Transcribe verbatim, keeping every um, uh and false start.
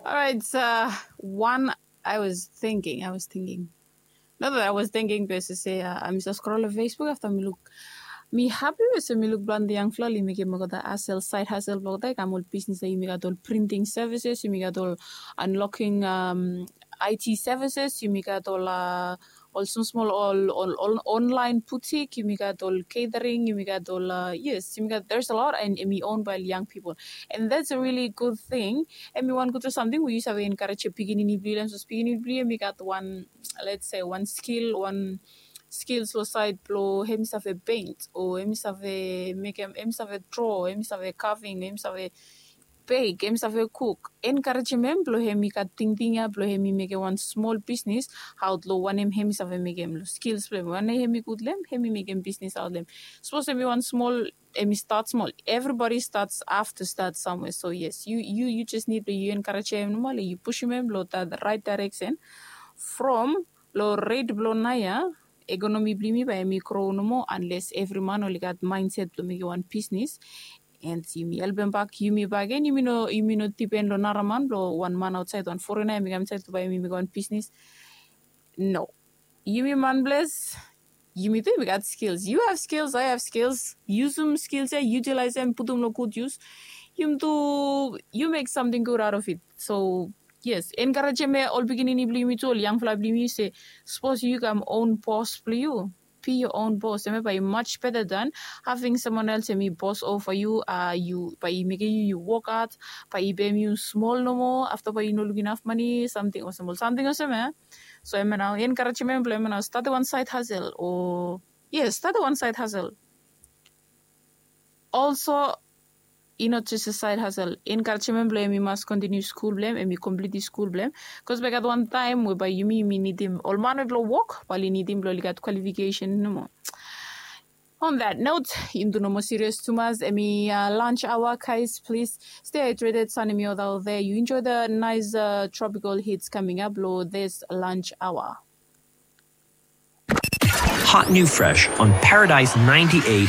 Alright, uh, one I was thinking, I was thinking. Not that I was thinking, be se, uh, mi sa scroll Facebook afta mi luk. Mi hapi be se mi luk planti yangfala oli mekem olgeta hustle, side hustle blong olgeta i kam ol bisnis, yumi gat ol printing services, yumi gat ol unlocking, um, I T services, yumi gat ol, uh, ol smosmol ol, ol, ol online boutique, yumi gat ol catering, yumi gat ol, uh, yes, yumi gat, there's a lot, and hemi owned by young people. And that's a really good thing. Hemi wan gud samting we yu save encourage pikinini blong yu, sapos pikinini blong yu hemi gat wan, let's say, wan skill, wan skills lo side blo hemi save paint, o hemi save mekem, hemi save draw, hemi save carving, hemi save bake, hemi save cook. Encouragem hem blo hemi gat tingting ia blo hemi mekem wan smol bisnis aot lo wanem hemi save mekem, lo skills blo hem, wanem hemi gud lo hem, hemi mekem bisnis aot lo hem. Sapos hemi wan smol, hemi start small. Everybody starts, have to start somewhere. So yes, you, you, you just need to, you encourage him normally, you push him in below that right direction. From lo rate blo naoia, economy blo yumi bae hemi grow nomo unless every man oli gat mindset blo mekem wan business. And yumi helpem bak yumi bakegen, yumi no, yumi no depend lo nara man, blo wan man outside, wan foreigner hemi kam inside blo bae hemi mekem wan business. No. Yumi man blong yumi tu yumi gat skills. You have skills, I have skills. Yusum skills ia, utilize hem, putum lo gud use. Yumi tu, you make something good out of it. So yes, encouragem ol pikinini blo yumi tu, ol yangfala blo yumi se, sapos yu kam own boss blo yu, be your own boss. Hemia bae i much better than having someone else hemi boss over you. Uh, yu, bae i mekem yu, yu wok had, bae i pem yu smol nomo, afta bae yu no lukim inaf mane, samting olsem, samting olsem ia. So hemia nao encouragement blo hemia nao, statem wan side hustle, o yes, statem wan side hustle. Also, i no jes a side hustle. Encouragement blo hem, i mas continue skul blo hem, hem i complete skul blo hem. Bikos bae gat wan taem we bae yumi, yumi nidim ol man we blo wok, bae oli nidim blo oli gat qualification nomo. On that note, yumi tu no moa serious tumas, hemi, uh, lunch hour, guys. Please stay hydrated, sun hemi hot out there. You enjoy the nice, uh, tropical heats coming up lo this lunch hour. Hot new fresh on Paradise ninety-eight